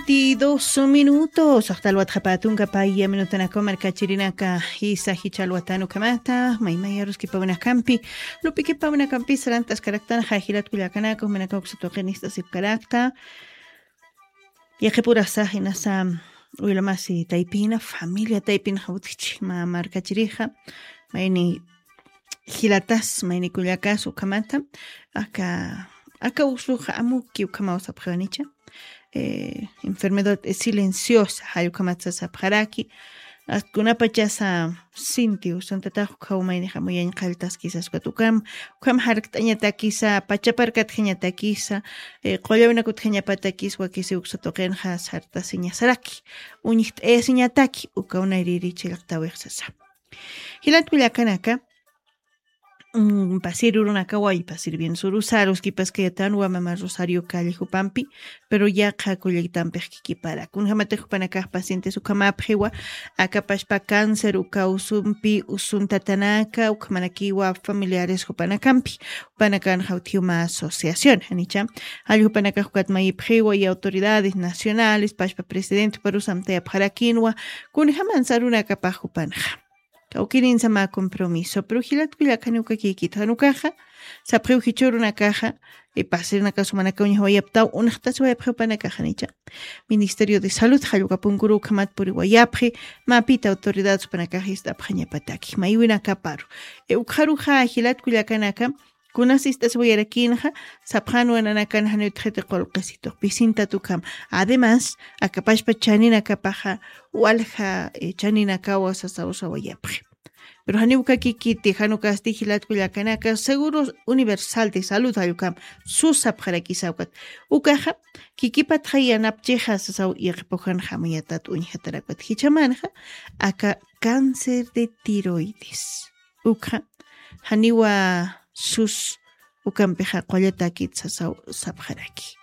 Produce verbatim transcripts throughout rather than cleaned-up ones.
veintidós minutos. Axtalwatxapatunka paya minutanakaw markachirinaka. Isa jichhalwatanu kamata maymaya ruskipawinakampi, lupikipawinakampi sarantaskaraktan jajilat kullakanaka jumanakaw ksatuqinist'asipkarakta. Yaqipurasa jinasa, wilamasi taypina familia taypina jawtkichi ma markachirixa, mayni jilatas mayni kullakas ukhamata, aka aka usuxa amuki ukhamaw sapxawanicha. Enfermedad silenciosa jallukhamatsa sapxaraki. Kunapachasa sinti usuntatax ukhaw mayni jamuyañ qalltaskisas ukat ukham, ukham jarkt'añatakisa pachaparkatjañatakisa, qullawinakutjañapatakis wakisi uksatuqinxa sartasiñasaraki, uñjt'ayasiñataki ukaw nayriri chillqtawix sasa. Jilat kullakanaka, pasir urunakaw wallpa sirvienso rusaruskipaskayatan wamama rosario calle jupampi, pero yaqha kullakitampix kikipara kunjämatix jupanakax pacientes ukhamapxiwa. Akapashpa cáncer uka usumpi usuntatanaka ukhamanakiwa familiares jupanakampi, jupanakan jawtjiw mä asociación janicha. Jall jupanakax ukat mayipxiwa y autoridades nacionales pashpa presidente juparusamtayapxarakinwa, kunjäman sarunakapax jupanxa kawkirinsa mä compromiso pero jilat kullakani ukakikit janukaxa, sapxiw jichhürunakaxa, pasirnakasumanakaw ñajawayaptaw unxtasiwayapxiw panakaxanicha. Ministerio de salud jallukapunkuru ukhamat puriwayapxi, mapita autoridad supanakax ist'apxañapataki maywinakaparu. Ukxaruxa jilat kullakanaka, kunas ist'asiwayarakinxa, sapxanwa nanakan janiw utxiti qulqisitux pisintatukham. Además, akapashpa chaninakapaxa walja chaninakawa sasawsawayapxi. Pero janiw ukakikiti janukasti jilat kullakanaka seguro universal de salud jallukam, sus sapxarakisa ukat. Ukaxa kikipatxa yanapchixa sasaw yaqipawjan jamuyatat uñjatarakwat jichhamanxa, aka cáncer de tiroides. Ukxa janiwa sus ukampixa qullatakit sasaw sapxaraki.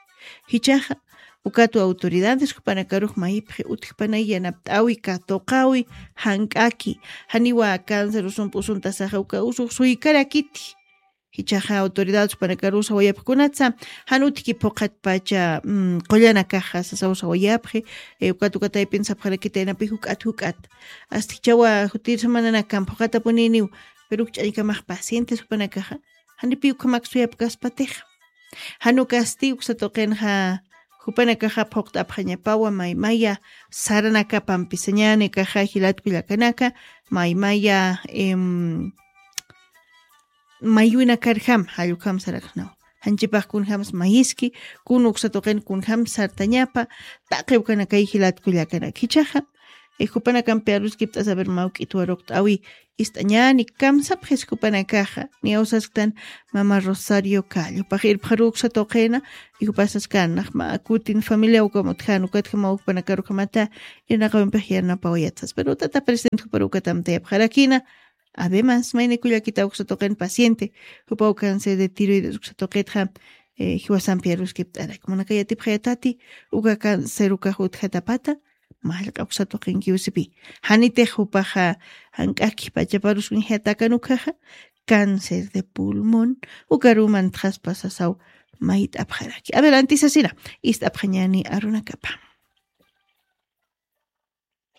Jichhaxa ukatwa autoridades jupanakarux mayipxi utjpanay yanapt'awi katuqawi, jank'aki, janiwa cáncer usumpi usuntasaxa uka usux suykarakiti. Jichhaxa autoridades jupanakarusa wayapxkunatsa, jan utjki phuqhatpacha qullanakaxa sasaw sawayapxi. Ukat uka taypin sapxarakita yanapi juk'at juk'at, asta jichhawa jutirsamananakan phuqhatapuniniw, pero uk ch'añkamax pacientes jupanakaxa, janipiy ukhamak suyapkaspatixa. Jan ukasti uksa tuqinxa jupanakaxa phuqt'apxañapawa maymaya saranakapampi sañäni kaxa jilat kullakanaka, maymaya maywinakarjam jallukham sarakxnaw. Janchipax kunjams mayiski, kun uksa tuqin kunjams sartañapa, taqi ukanakay jilat kullakanaka jichhaxa, jupanakampi aruskipt'asa ver mawk'itwaruqt'awi ist'añäni kamsapxis jupanakaxa. Niyawsasktan mama rosario callopax irpxaru uksa tuqina, y jupasaskan naxma kutin familia ukam utjän ukatjamaw jupanakarukamata irnaqawimpix yanapawayatsas pero tata presidente juparu ukatamtayapxarakina. Además mayni kullakita uksa tuqin paciente, jupaw cáncer de tiroides uksa tuqitxa jiwasampi aruskipt'arak munakayatipxayatati, uka cáncer ukax utjatapata, mallq'a uksa tuqinkiw sipi. Janitix jupaxa jank'aki pachaparus uñjatakan ukhaxa, cáncer de pulmón, ukaruman txaspa sasaw mayt'apxaraki adelanti sasina. Ist'apxañani arunakapa.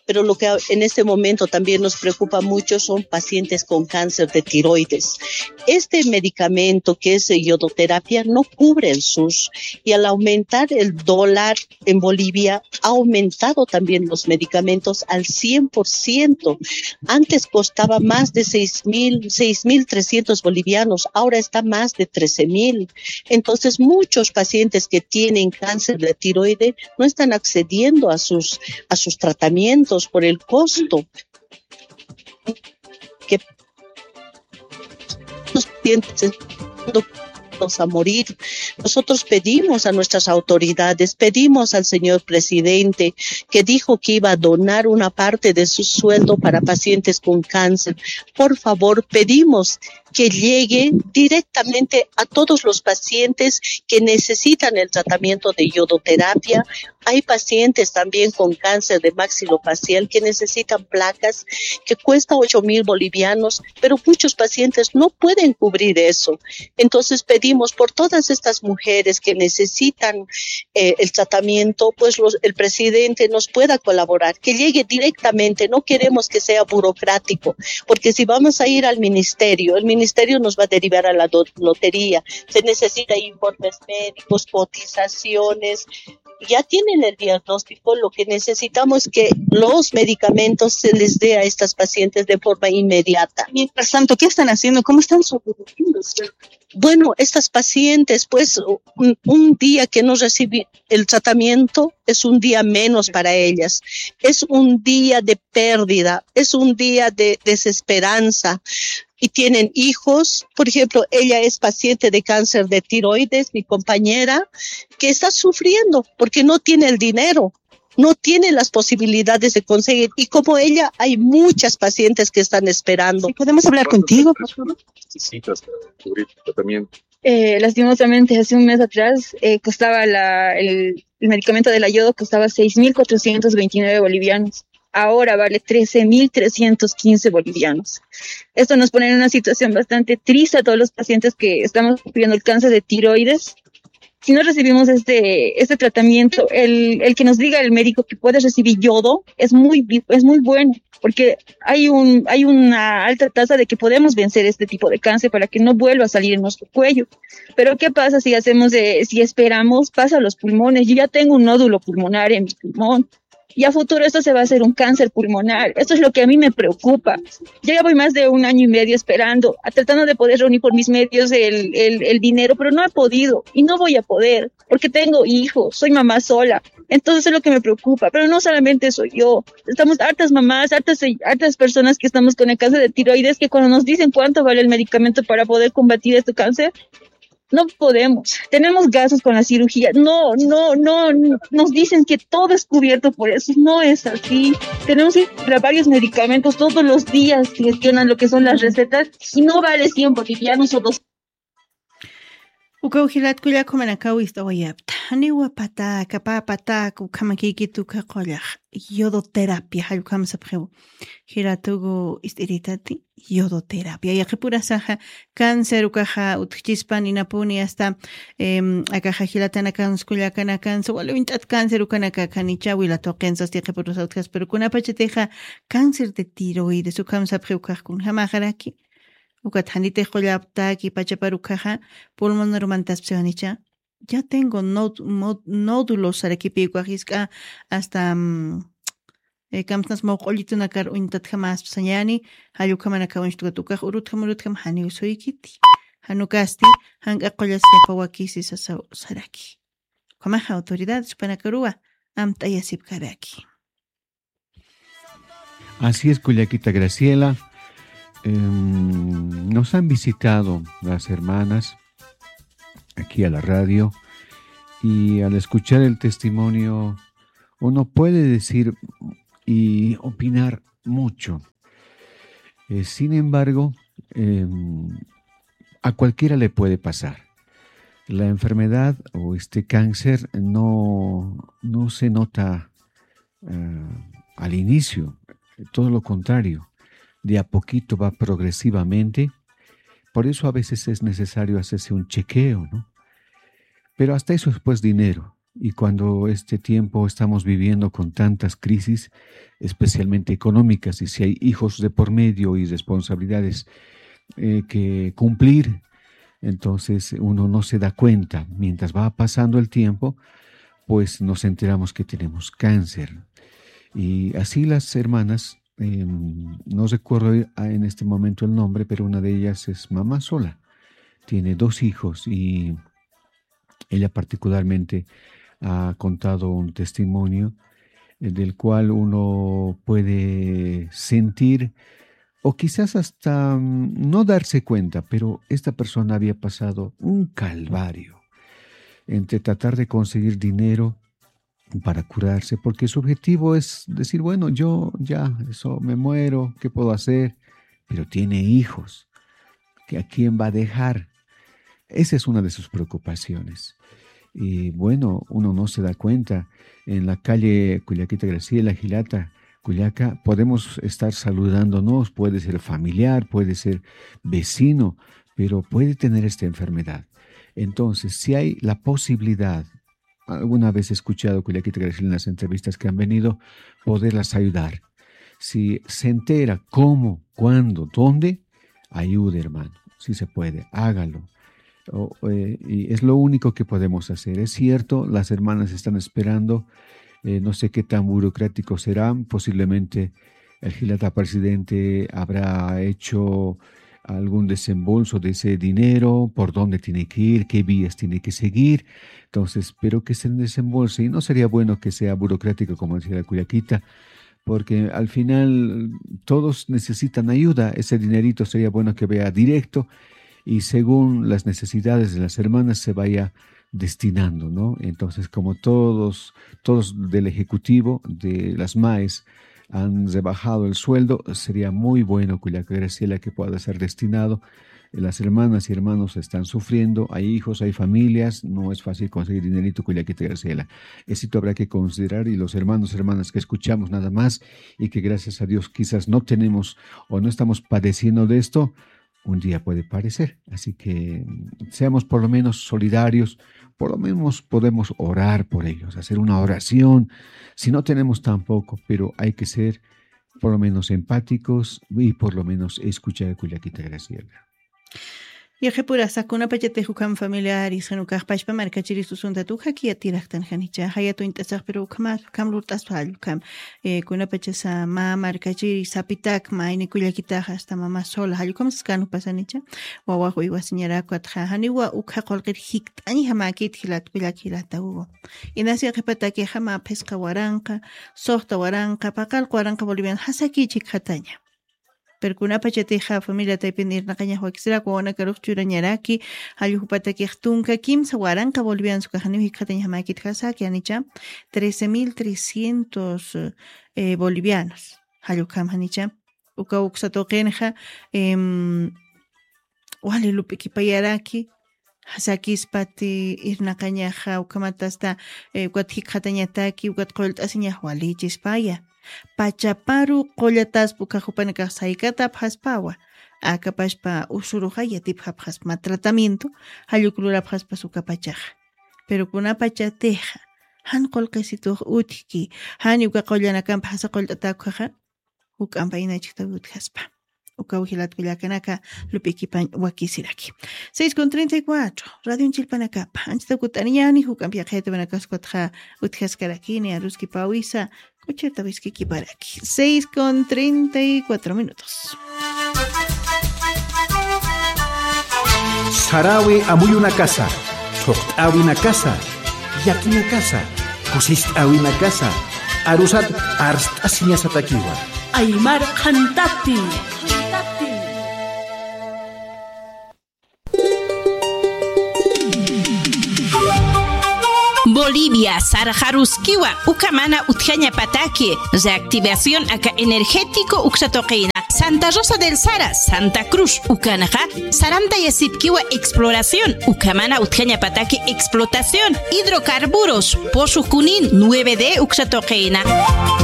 Pero lo que en este momento también nos preocupa mucho son pacientes con cáncer de tiroides. Este medicamento que es yodoterapia no cubre el sus, y al aumentar el dólar en Bolivia ha aumentado también los medicamentos al cien por ciento. Antes costaba más de seis mil, seis mil trescientos bolivianos, ahora está más de trece mil. Entonces muchos pacientes que tienen cáncer de tiroides no están accediendo a sus, a sus tratamientos por el costo. Que los pacientes a morir. Nosotros pedimos a nuestras autoridades, pedimos al señor presidente que dijo que iba a donar una parte de su sueldo para pacientes con cáncer. Por favor, pedimos que llegue directamente a todos los pacientes que necesitan el tratamiento de yodoterapia. Hay pacientes también con cáncer de maxilofacial que necesitan placas que cuesta ocho mil bolivianos, pero muchos pacientes no pueden cubrir eso. Entonces pedimos por todas estas mujeres que necesitan eh, el tratamiento, pues los, el presidente nos pueda colaborar, que llegue directamente. No queremos que sea burocrático, porque si vamos a ir al ministerio, el ministerio nos va a derivar a la do- lotería. Se necesita informes médicos, cotizaciones. Ya tienen el diagnóstico, lo que necesitamos es que los medicamentos se les dé a estas pacientes de forma inmediata. Mientras tanto, ¿qué están haciendo? ¿Cómo están sobreviviendo? Bueno, estas pacientes, pues, un, un día que no recibe el tratamiento es un día menos para ellas, es un día de pérdida, es un día de desesperanza. Y tienen hijos, por ejemplo, ella es paciente de cáncer de tiroides, mi compañera, que está sufriendo porque no tiene el dinero, no tiene las posibilidades de conseguir. Y como ella, hay muchas pacientes que están esperando. ¿Podemos hablar contigo, por favor? Necesitas para cubrir tu tratamiento. Eh, lastimosamente, hace un mes atrás eh, costaba la, el, el medicamento de la yodo, costaba seis mil cuatrocientos veintinueve bolivianos. Ahora vale trece mil trescientos quince bolivianos. Esto nos pone en una situación bastante triste a todos los pacientes que estamos sufriendo el cáncer de tiroides. Si no recibimos este, este tratamiento, el, el que nos diga el médico que puede recibir yodo es muy, es muy bueno, porque hay, un, hay una alta tasa de que podemos vencer este tipo de cáncer para que no vuelva a salir en nuestro cuello. Pero ¿qué pasa si hacemos, de, si esperamos, pasa a los pulmones? Yo ya tengo un nódulo pulmonar en mi pulmón. Y a futuro esto se va a hacer un cáncer pulmonar. Esto es lo que a mí me preocupa. Yo ya voy más de un año y medio esperando, tratando de poder reunir por mis medios el, el, el dinero, pero no he podido y no voy a poder porque tengo hijos, soy mamá sola. Entonces es lo que me preocupa, pero no solamente soy yo. Estamos hartas mamás, hartas, hartas personas que estamos con el cáncer de tiroides que cuando nos dicen cuánto vale el medicamento para poder combatir este cáncer, no podemos. Tenemos gastos con la cirugía. No, no, no, no. Nos dicen que todo es cubierto por eso. No es así. Tenemos que comprar varios medicamentos todos los días que gestionan lo que son las recetas y no vale cien bolivianos o dos. Ukaw jilat kullak jumanakaw ist'awayapta. Janiwa pataka, pä pataka, ukhamakïkit uka qullaq. Yodoterapia, jallukhamsapxiw. Jilatugu ist'iritati, yodoterapia. Yaqipurasaxa cáncer ukaxa utjchispan inapuni hasta, em, akaxa jilatanakansa kullakanakansa, wali uñt'at cáncer ukanaka khanicha wilatuqinsa hasta yaqipurasa utjaspa, pero kunapachatixa cáncer de tiroides, ukhamsapxi ukax kunjamaxaraki. Ukat janitix qullaptaki pachapar ukaxa pulmonar mantaspsiwanicha. Ya tengo nód- mod- nódulos sarakipi ukax jisk'a hasta, mm, eh, kamsnas mawq'ullitunakar uñtatjamaspsañani, jallukhamanaka uñstukat ukax urutjam urutjam janiw suykiti. Janukasti, jank'a qullas yapa wakisi sasaw saraki. Ukhamaxa autoridades jupanakaruwa amt'ayasipkaraki. Así es, Cullaquita Graciela. Em, nos han visitado las hermanas aquí a la radio y al escuchar el testimonio uno puede decir y opinar mucho. Eh, sin embargo, em, a cualquiera le puede pasar. La enfermedad o este cáncer no, no se nota eh, al inicio, todo lo contrario, de a poquito va progresivamente. Por eso a veces es necesario hacerse un chequeo, ¿no? Pero hasta eso es pues dinero. Y cuando este tiempo estamos viviendo con tantas crisis, especialmente económicas, y si hay hijos de por medio y responsabilidades eh, que cumplir, entonces uno no se da cuenta. Mientras va pasando el tiempo, pues nos enteramos que tenemos cáncer. Y así las hermanas, em, no recuerdo a- en este momento el nombre, pero una de ellas es mamá sola. Tiene dos hijos y ella particularmente ha contado un testimonio eh, del cual uno puede sentir o quizás hasta mm, no darse cuenta, pero esta persona había pasado un calvario entre tratar de conseguir dinero para curarse, porque su objetivo es decir, bueno, yo ya, eso me muero, ¿qué puedo hacer? Pero tiene hijos. ¿A quién va a dejar? Esa es una de sus preocupaciones. Y bueno, uno no se da cuenta. En la calle Cullaquita Graciela, Jilata, Cullaca, podemos estar saludándonos, puede ser familiar, puede ser vecino, pero puede tener esta enfermedad. Entonces, si hay la posibilidad, alguna vez he escuchado Cullaquita Graciela en las entrevistas que han venido, poderlas ayudar. Si se entera cómo, cuándo, dónde, ayude, hermano. Si se puede, hágalo. O, eh, y es lo único que podemos hacer. Es cierto, las hermanas están esperando, eh, no sé qué tan burocrático será, posiblemente el Jilata presidente habrá hecho algún desembolso de ese dinero, por dónde tiene que ir, qué vías tiene que seguir. Entonces, espero que se desembolse. Y no sería bueno que sea burocrático, como decía la Cullaquita, porque al final todos necesitan ayuda. Ese dinerito sería bueno que vaya directo y según las necesidades de las hermanas se vaya destinando, ¿no? Entonces, como todos, todos del ejecutivo, de las maes, han rebajado el sueldo, sería muy bueno, Cullaca Graciela, que pueda ser destinado. Las hermanas y hermanos están sufriendo, hay hijos, hay familias, no es fácil conseguir dinerito, Cullaquita Graciela. Esto habrá que considerar y los hermanos, hermanas que escuchamos nada más y que gracias a Dios quizás no tenemos o no estamos padeciendo de esto, un día puede parecer. Así que mm, seamos por lo menos solidarios, por lo menos podemos orar por ellos, hacer una oración. Si no tenemos tampoco, pero hay que ser por lo menos empáticos y por lo menos escuchar a Cullaquita Graciela. Yaqhipurasa kunapachatix ukham familiaris, jan ukax pachpa markachiri susuntat ukhaki yatiraktan janicha, jayat uñt'asax, pero ukhama, ukham lurt'aspa jall ukham. Eh, kunapachasa mä markachiri sapitak, mayni Kullaquitaxa, hasta mamá sola, jall ukham sas kanu pasanicha, wawax uywasiñarak ukatxa, janiwa ukha qullqir jikt'añjamäkit jilat Kullak jilata Hugo. Inasi qhipatakixa mä phisqa waranqa, suxta waranqa, paqallq waranqa boliviano jasaki chhikxataña. Pero kunapachatixa familia taypin irnaqañax wakisirak, wawanakarux churañaraki, jall ukhamatakix tunka kimsa waranqa bolivianos ukax janiw jikxatañjamäkit jasaki janicha, trece mil trescientos, eh, bolivianos. Jall ukham janicha, uka uksa tuqinxa, em, wali lup'ikipayaraki, sakispati irnaqañaxa, ukhamat hasta, eh, ukat jikxatañataki, ukat qullt'asiñax walichispaya. Pachaparu qullataspa uka jupanakax saykatapxaspawa. Akapachpa usuruxa yatipxapxaspa mä tratamiento, jall uk lurapxaspas ukapachaxa. Pero kunapachatixa, jan qullqisitux utjki, jani uka qullanakamp jasa qullt'atäkxaxa, juk'ampa inachktawi utjaspa. Ukaw jilat Kullakanaka lup'ikipañ wakisiraki. Seis con treinta y cuatro, radion chillpanakapa. Anchita kut'aniñani, juk'amp yaqhayatiwanakas ukatxa utjaskarakini, aruskipawisa, k'uchirta wiskikiparaki. Seis con treinta y cuatro minutos. Sarawi amuyunakasa, thuqt'awinakasa, yakinakasa, kusist'awinakasa, arusat arst'asiñasatakiwa. Aymar qhantati. Bolivia, sarxaruskiwa, uka mana utjañapataki, reactivación aka energético uksa tuqina, Santa Rosa del Sara, Santa Cruz, ukanxa, sarantayasipkiwa exploración, uka mana utjañapataki explotación, hidrocarburos, pozo Junín, nueve D uksa tuqina.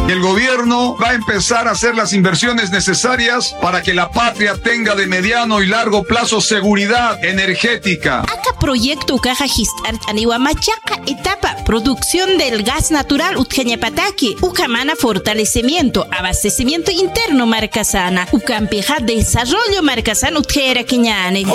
El gobierno va a empezar a hacer las inversiones necesarias para que la patria tenga de mediano y largo plazo seguridad energética. Aka proyecto ukaxa jist'art'aniwa machaqa etapa, producción del gas natural utjañapataki, uka mana fortalecimiento, abastecimiento interno markasana, ukampixa desarrollo markasan utjayarakiñani.